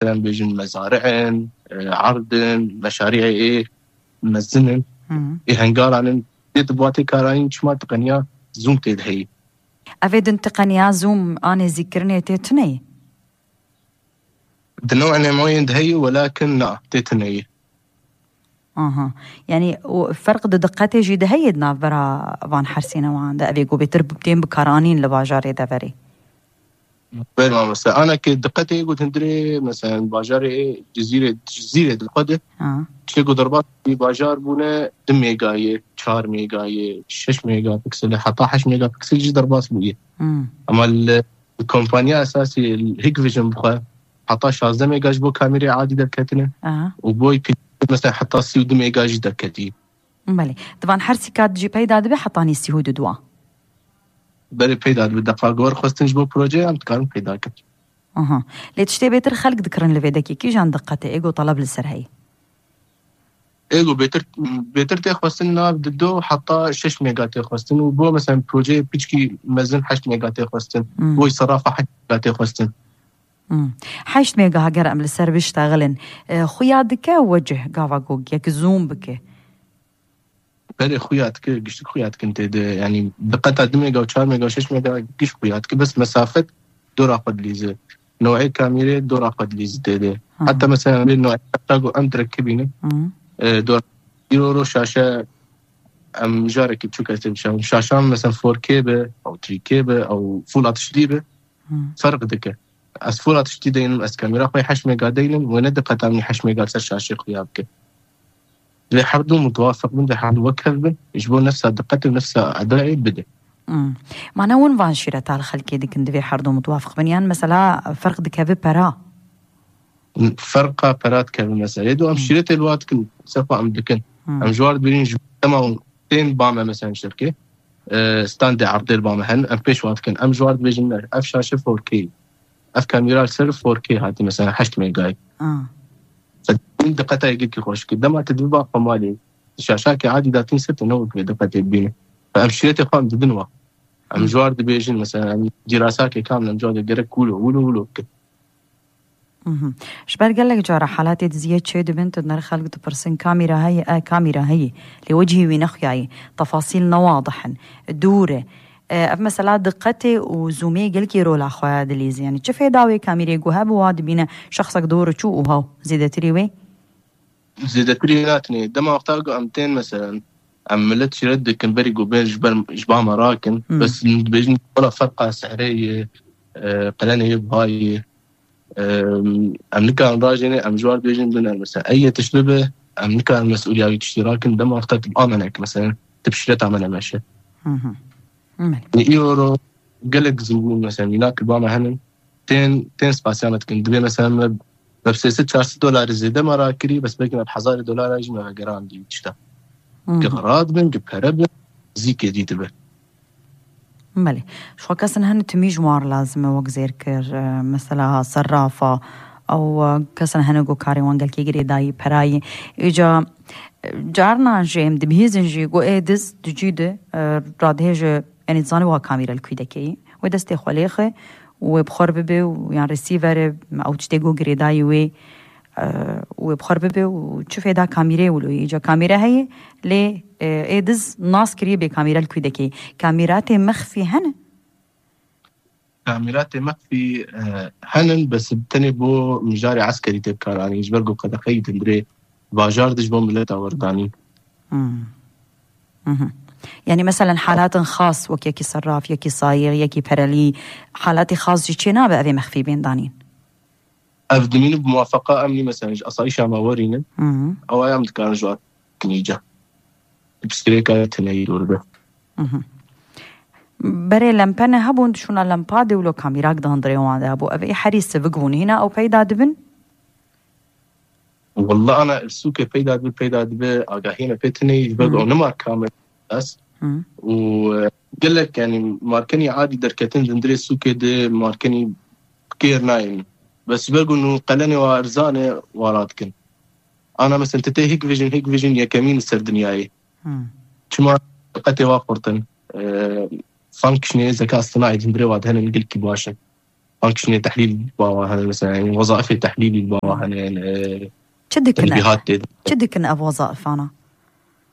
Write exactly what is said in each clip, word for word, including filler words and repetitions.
em bêjin mezari'in, e, erdin, meşariyê ê mezin in, Hı. ê hengaran in, tê di bo tê karanîn çima tiqeniya Zoom tê de heyî. Ev ê din tiqeniya Zoom a nêzîkkirinê tê tuneyî? Di new'ê nemoyên de heyî, welakin na, tê tuneyî. Aha. Yani, o ferq di diqetê jî de heyê di navbera van hersî newan de. Evê ku bêtir tên bikaranîn li bajarê deverê. Belê mamoste. Ana ki diqetê got hundirê, mesela, bajarê Cizîrê, Cizîrê di xwe de. Ha. Çê ku derbas bî bajar bûne du megayê, çar megayê, şeş megapikselê, heta heşt megapikselê jî derbas bûye. Hmm. Ama li, li kompanya esasî, li Hikvision bixwe, heta şazdeh mega ji bo kamîrê adî derketine. Aha. Û boy pî, mesela, heta sî û du mega jî derketî. Belê. Di van her sî kat jî peyda dibe heta nî sî û du dua. Belê peyda dibe. Deqa gor xwestin ji bo projeya em dikarin peyda kin. Aha. Lê tiştê bêtir xelk dikirin li vê dekê kîjan diqetê êgo taleb li ser heyî. Êgo bêtir, bêtir tê xwestin nav di do heta şeş mega tê xwestin û bo, mesela, projeyê piçkî mezin heşt mega tê xwestin. Hmm. Boy serafa heşt mega tê xwestin. Hmm. Heşt mega ger em li ser biştexilin, e, xuya dike wecih gava ku yek zoom bike. Belê xuya dike, giştik xuya dikin tê de. Yani diqeta du mega û çar mega û şeş mega giş xuya dike. Bes mesafet dora xwe dilîze. New'ê kamîrê dora xwe dilîze tê de. Ha. Heta mesela em bê new'ê heta ku em direk bînin. Hı. E, dora îro ro şaşe em carekî çûk ez tê bişewim. Şaşan mesela four K be, ew three K be, ew full H D be. Hmm. Ferq dike. Ez fûra tiştî deynim, ez kamera xwe heşt mega deynim, wê ne diqeta min heşt mega ser şaşê xuya bike. Divê her du mutwafiq bin, divê her du wek hev bin, ji bo nefsa diqetê û nefsa edayê bide. Hmm. Ma ne win van şîreta li xelkê dikin, divê her du mutwafiq bin, yan mesela ferq dikeve pera? Ferqa pera dikeve mesela. Ê do em Hmm. şîretê li wa dikin, sefa em dikin. Hmm. Em ji war dibêjin ji dema tên ba me mesela şirkê. E, standê erdê li ba me henin, em pêş wa dikin. Em ji war dibêjin, ne, ev şaşe four K. Ev kamera li ser four K hatî, mesela heşt megayê. Ah. Min diqeta yekî xweş kir. Dema tu dibi ba xwe malê, şaşakê adî datîn ser te ne wek vê diqetê dibîne. Em şîretê xwe em didin wa. Em Hmm. ji war dibêjin, mesela, em dîrasakê kamil em ji war gerek wilo, wilo, wilo bikin. Mhm. Ji ber gelek cara halatê diziyê çê dibin, tu nirx xelk dipirsin, kamîra heye, e, kamîra heye. Lê wecihî wî nexuyayî. Tefasîl ne wadih in. Dûr e. E, ev mesela diqetê û zoomê gelkî rola xwe dilîzî. Yani çi fêda wê kamîrê ku hebû wa dibîne şexsek dor çû û haw zêdetirî wê? Zêdetirî natinê. Dema wexta ku em tên mesela, em millet şîret dikin berî ku bên ji ber, ji ba me rakin. Hmm. Bes dibêjin wela ferqa sehrê ye, e, qelenê ye, buha ye. Em, em nikarin rajêne, em ji wan bêjin bine, mesela, ey yê tişt bibe, em nikarin mesûliya wî tiştî rakin, dema wexta tu bi amenek, mesela, tu bi şîreta me nemeşe. Hı hı. Belê. Îro ro gelek zû bûn, mesela, mînak li ba me henin, tên, tên spasiya me dikin. Dibê, mesela, me, me bi sê sed çar sed dolarî zêde me rakirî, bes belkî me bi hezarê dolara jî me vegerandî tişta. Hı hı. Ki radibin, ki pere bin, zîkê dî dibe. Belê. Ji xwe kesin hene timî ji wan re lazim e wek zêrkir, e, mesela serrafa, ew, e, kesin hene ku karê wan gelkî girêdayî, perayî. Îca, e, carna jî em dibihîzin jî ku ê diz di cî de, e, radihêje, yanî dizanî wa kamîre li kwî dekeyî. Wê destê xwe lêxe û wê bi xwe re bibe û yan receiver e, ew tiştê ku girêdayî wê, e, wê bi xwe re bibe û çi fêda kamîrê wilo ye? Îca kamîre heye, lê, e, ê diz nas kiriye bê kamîre li kwî dekê. Kamîratê mexfî hene? Kamîratê mexfî, e, henin, bes tenê bo mijarê eskerî tê bikaranîn, ji ber ku qedexeyî dindirê bajar de ji bo mileta werdanîn. Hmm. Mhm. Yani, meselen, halatin xas wek yekî serraf, yekî sayîx, yekî perelî, halatê xas jî çê nabe evê mexfî bên danîn? Ev dimînin bi muwafaqa emnî, mesela, ji asayîşa me werînin. Hı hı. Ew em dikarin ji wan kinîce. Pirsgirêka teneyî dor be. Hı hı. Berê lempene hebûn, dişûna lempa de wilo kamîrak di hundirê wan de hebû. Ev ê herî sivik bûn. Hîna ew peyda dibin? Walla ana sûkê peyda dibe, peyda dibe, agahî me pê tineyî, ji ber Hı. ew ne marka me. Hı. Û, e, gelek, yani, markenî adî derketin di hundirê sûkê de markenî kêr nayên. Bes ji ber ku nû qelenê wa erzan e, wa radikin. Ana mesela, tu tê Hikvision, Hikvision yekemîn li ser dinyayê. Hmm. Çima diqetê wa xurt in? E, functionê, zeka sinaî di hundirê wa de henin gelkî baş in. Functionê tehlîl bawa hene, mesela, yani, wezaifê tehlîlî bawa hene, yani, e, Çi dikin? Tenbîhat tê. Çi dikin ev wezaifana?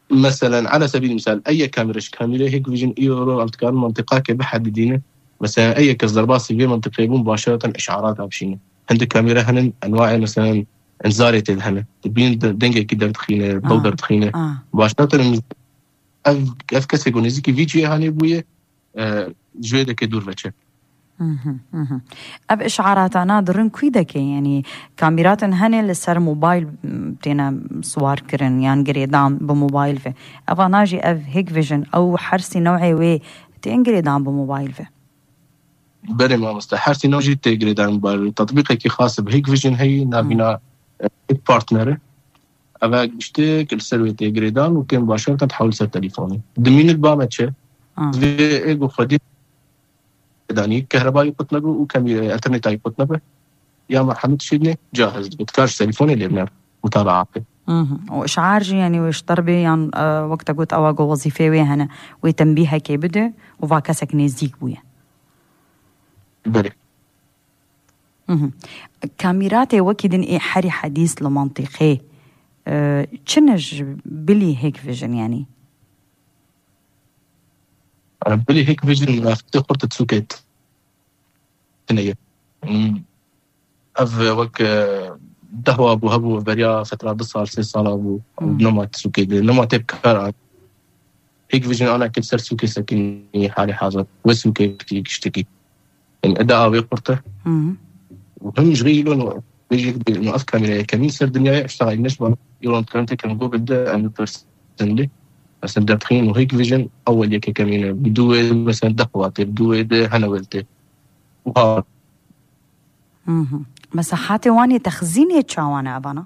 Meselen, ala sebîl misal, eye kamîre ji kamîrê Hikvision îro em dikarin mantiqake bihedidîne. Mesela, eye kes derbasî vê mantiqê bûn, başeratan işarat avşîne. Hindik kamîre henin, enwaê, meselen, inzarê tê de hene. Dibîn de-, dengekî derdixîne, dew Ah, derdixîne. ah. Başeratan ev, ev kesê ku nêzîkî vî cihê hanê bûye, e, ji wê deke dûr veçe. Mhm, mhm. Ev işaratana dirin kû deke, yani kamîratin hene li ser mobayl, m, têne siwar kirin yan girêdan bi mobayl ve. Evana jî ev Hikvision, ew her sî newê wê tên girêdan bi mobayl ve. Belê mamoste, her sî new jî tê girêdan bi mobayl ve. Tatbîqekî xas bi Hikvision heye, navîna, e, Hik Partner e. Eve giştê ki li ser wê tê girêdan û kêm başeratan dihewil ser telîfonê. Dimînit ba me çi? Ah. Vê ê ku xwedî danî, kehrebayî qut nebû û kemî-, internetayî qut nebû. Ya merhemet şîdnê cahiz dibe. Dikar ji telîfonê lê bine mutabaa bike. Mhm. Û işar jî, yani, wê ji te re bê yan, e, wek te got, ewa ku wezîfê wê hene, wê tembîhekê bide û va kesek nêzîk bûye. Belê. Mhm. Kamîratê wekî din ê herî hedîs li mantîqê, e, çi ne ji bilî Hikvision, yani? Bilî Hikvision mafitê xurt sûkê tine ye. Hmm. Ev wek, e, dehwa bû hebû, beriya fetra du sal, sê sala bû. Hmm. Nema sûkê de, nema tê bi kar an. Hikvision ana kir ser sûkê sekinî halê hazir. Wê sûkê tî giştekî. Yani, eda avê qurte. Hmm. Û him ji rî îlo no, bêjî, no, ev kamîra yekemîn ser dinyayê, iştexalî neşba, îro em dikarin têkin Google de, em bipersin lê. Mesela, derdixîn û Hikvision, ewel yekekemîn e. Bi dû wê, mesela, dehwa tê, bi dû wê de hene wel tê. Û ha. Mhm. Mesahatê wan ê texzînê çawan e evana?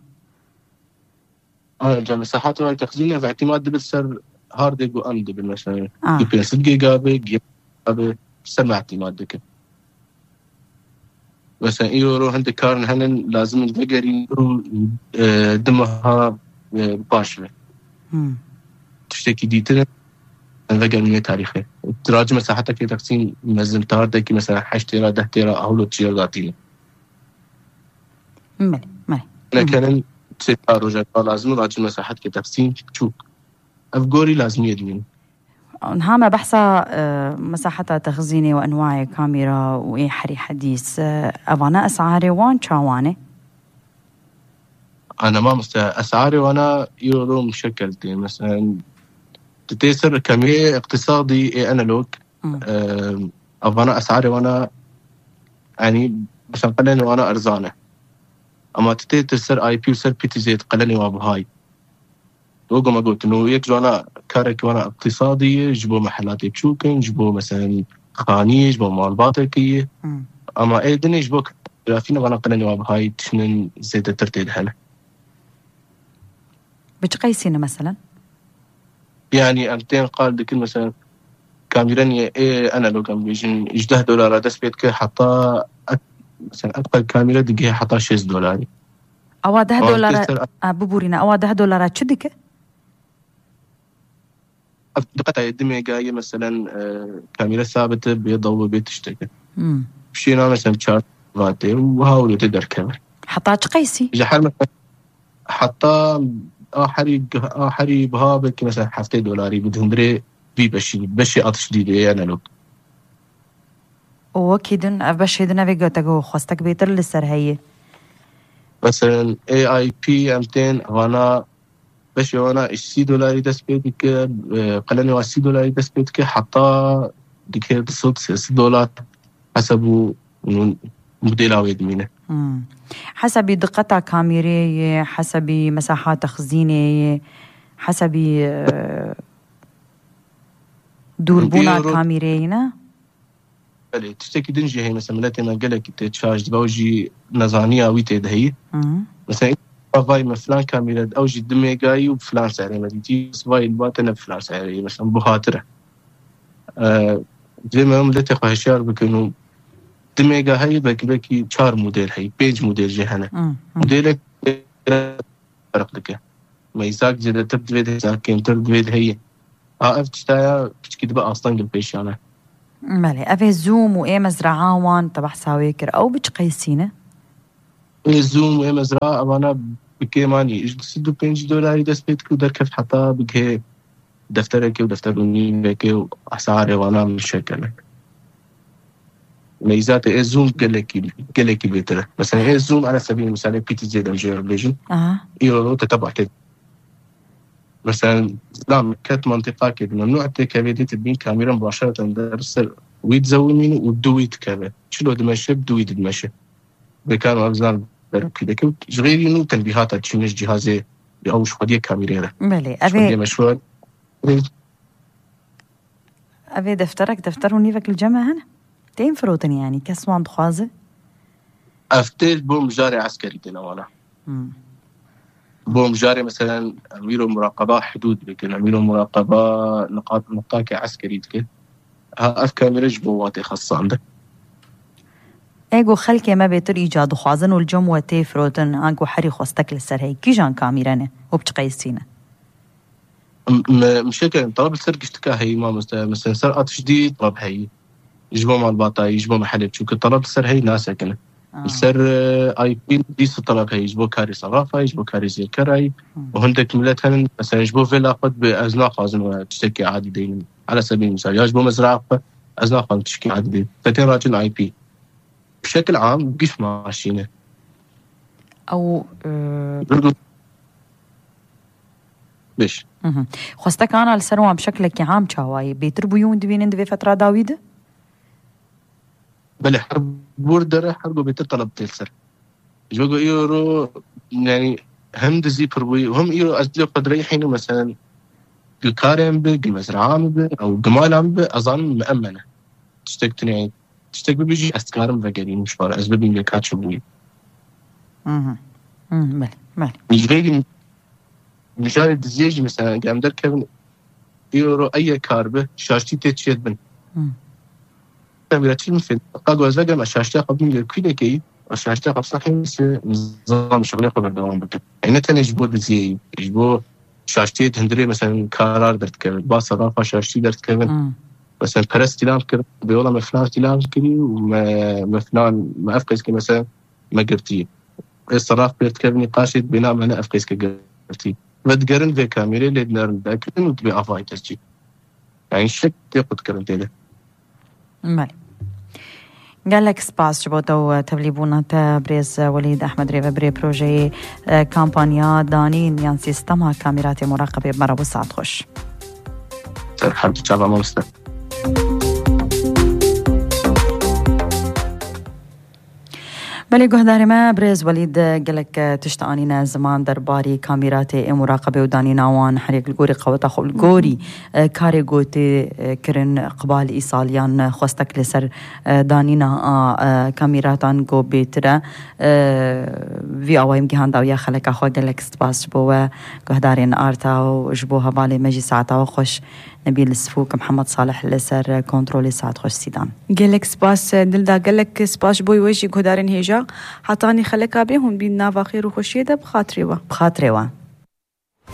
Ayrıca mesahatê wan texzînê ve îtimad dibin ser hardê ku em dibin, mesela, Ah. du pênc sed giga be, giga be, ser me îtimad dikin. Mesela, îro ro hindek karin henin, lazim in vegerîn û, e, du meha, e, paş ve. Hmm. Tiştekî dîtin, em vegerin wê tarîxê. Diracî mesahetekê texsîn mezin tardekî, mesela, heşt têra, deh têra, ahûlo çiya gatîne. Belê, belê. Nekenin, sê çar rojek lazim in, diracî mesahetekê texsîn çûk. Ev gorî lazimiyê dibînin. Niha me behsa, e, mesaheta texzînê û enwayê kamîra û ê herî hedîs, e, evana esarê wan çawan e? Ana mamoste, esarê wana îro ro muşekkel tê. Mesela, tu tê ser kamîrê iqtisadî ê analog, Hmm. e, evana esarê wana, yani, mesela, qelenê wana erzan e. Ama tu tê, tu ser I P û ser P T Z qelenê wa bihayî. Wek me gotin, û yek ji wana karekî wana iqtisadî ye, ji bo mehelatê biçûk in, ji bo, mesela, xaniyê, ji bo malbatekî ye. Hmm. Ama ê dinê ji bo grafî ne, vana qelenê wa bihayî tiştên zêdetir tê de hene. Bi çi qeysî ne, mesela? Yani, em tên qal dikin, mesela, kamîrenê ê analog, em bêjin, ji deh dolara dest pê dike, heta, mesela, ev qal kamîre digihê heta şêst dolarî. Ewa deh Ewa dolara, tê ser a, biborîne, ewa deh dolara çi dike? Ev diqeta ye, du mega ye, meselen, e, kamîre sabit e, bê daw bê tiştek e. Hmm. Şêna, meselen, çar vatê û wiha û tê derkeve. Heta çi qeysî? Ji her, meselen, heta a herî, a herî biha belkî, meselen, heftê dolarî bi hundirê vî beşî, beşê atişdîdê ye, analog. Û wekî din, ev beşê din, ev ê gote ku xwestek bêtir li ser heye. Meselen, A I P em tên, vana beşê wana ji sî dolarî dest pê dike, e, qelenê wa sî dolarî dest pê dike, heta dike du sed, sê sed dolar, hesab û modela wê dimîne. Hmm. Hesabî diqeta kamîrê ye, hesabî mesaha texzînê ye, hesabî, e, dûrbûna Îro kamîrê ye, ne? Belê, tiştekî din jî heye, mesela, miletê me gelekî tê çaş dibe, ew jî nezaniya wî tê de heye. Hı. Mesela, vay me filan kamîre, ew jî du megayî û filan serê me dîtî, vay li ba te ne filan serê, mesela, buhatir e. E, divê me miletê xwe hişyar bikin û du mega heye, belkî, belkî çar model heye, pênc model jî hene. Hı, hı. Modelek ferq dike. Meyzak zêdetir divê de, meyzak kêmtir divê de heye. A ev tiştaya piçkî dibe astengil pêşiyan e. Belê, ev ê Zoom û ê mezraa wan te behsa wê kir. Ew bi çi qeysî ne? Ê Zoom, ê mezra, evana bi kêmanî ji du sed û pêncî dolarî dest pê dikir û derkeft heta bigihê defterekê û defter û nîvekê û esarê wana min şekene. Meyzatê ê Zoom gelekî, gelekî bêtir e. Mesela ê Zoom, ana sebî misalê P T Z dem jê bêjin. Aha. Îro te teba tê. Mesela, Zam ket mantiqa ke, memnû tê kevê dê te bîn kamîra mubaşereten der ser wî dizewimîn û du wî dikeve. Çilo dimeşe, bi du wî dimeşe. Bekan ev zan berkî deke û ji xêrî nû tenbîhata çîniş cihazê bi ew ji xwediyê kamîrê re. Belê, ev ê, xwediyê meşhur. Ev ê defterek, defter û nîvek li cem me hene. Tên firotin yanî, kes wan dixwaze? Ev tê bo mijarê eskerî têne wana. Hmm. Bo mijarê, meselen, em îro muraqeba hidûd bikin, em îro muraqeba niqat, niqtakê eskerî dikin. Ha, ev kamîre ji bo watê xesandin. Ê ku xelkê me bêtir îca dixwazin û li cem we tê firotin, anku herî xwestek li ser heye, kîjan kamîre ne û bi çi qeysî ne? M-, me-, mişekerin, talab li ser giştika heyî, mamoste. Mesela, ser atiş dî talab heyî. Ji bo malbatayî, ji bo mehelê, çunke talab li ser heyî nasekine. Ah. Li ser, e, I P dîsa talab heyî, ji bo karê serafayî, ji bo karê zêrkerayî. Hmm. Û hindek milet henin, mesela, ji bo vêla xwe dibe, ez naxwazim we tiştekî adî deynim. Ala sebî misal, ya ji bo mezraa xwe, ez naxwazim tiştekî adî deynim. Te tên racin I P. Bi şekil am, giş maşîne. Ew, e, Zirgo-, Beş. Mhm. Xwestekana li ser wan bi şekilekî am çawa ye? Bêtir bûyî hûn dibînin di vê fetra dawî de? Belê, her bûr dere, her go bêtir talab tê li ser. Ji bo ku îro, yani, hem dizî pir bûyî, hem îro ez dilê xwe direyhînim, meselen, gi karê min bi, gi mezraa min bi, ew gi mala min bi, ez zanim miemene. Tiştek tune, tiştek bibî jî ez dikarim vegerînim ji xwe re, ez bibînim yeka çi bûyî. Mhm. Mhm, belê, belê. Ji xêrî mijarê diziyê jî, mesela, eger em derkevin, îro eye kar bi, şaştî tê çiyê dibin. Hmm. Em bira çi min fêm, ka ku ez vegerim, ez şaştiya xwe bibînim li kûlekeyî, ez şaştiya xwe bisaxîm, se nizam şixulê xwe berdewam bikim. Ey ne tenê ji bo diziyê, ji bo şaştiyê di hundirê, mesela, karar derdikevin, ba serafa şaştî derdikevin. Hmm. Mesela, pere stîlam kir, bi yola me filan stîlam kirî û me, me filan, me ev qeys kir, mesela, me girtî. Ê seraf pêr dikevin nîqaşê, bêna me ne ev qeys kir girtî. Ve digerin vê kamîrê lê dinerin derkirin û dibê avayî te çî. Yani şek tê qutkirin tê de. Belê. Gelek spas ji bo te û tevlîbûna te, birêz Welîd Ehmed, rêvebirê projeyê, e, kampanya danîn yan sîstema kamîratê muraqebê. Merhaba, saet xweş. Ser her du çava mamoste. Belê guhdarê me, birêz Welîd gelek tişt anîne ziman derbarî kamîratê ê muraqebê û danîna wan, her yek li gorî qeweta xwe, li gorî, e, karê gotê, e, kirin, qibal îsaliyan xwestek li ser, e, danîna a, e, kamîratan go bêtir e. E, vî awayî min gihandawiya xeleka xwe, gelek spas ji bo we guhdarên Arta û ji bo hevalê me jî saeta we xweş. Nebîl Sifûk, Mihemed Salih li ser kontrolê, saet xweş Sîdan. Gelek spas, Dilda, gelek spas ji bo we jî guhdarên hêja. Hetanî xeleka bê hûn bîn nava xêr û xweşiyê de bi xatirê we. Bi xatirê we.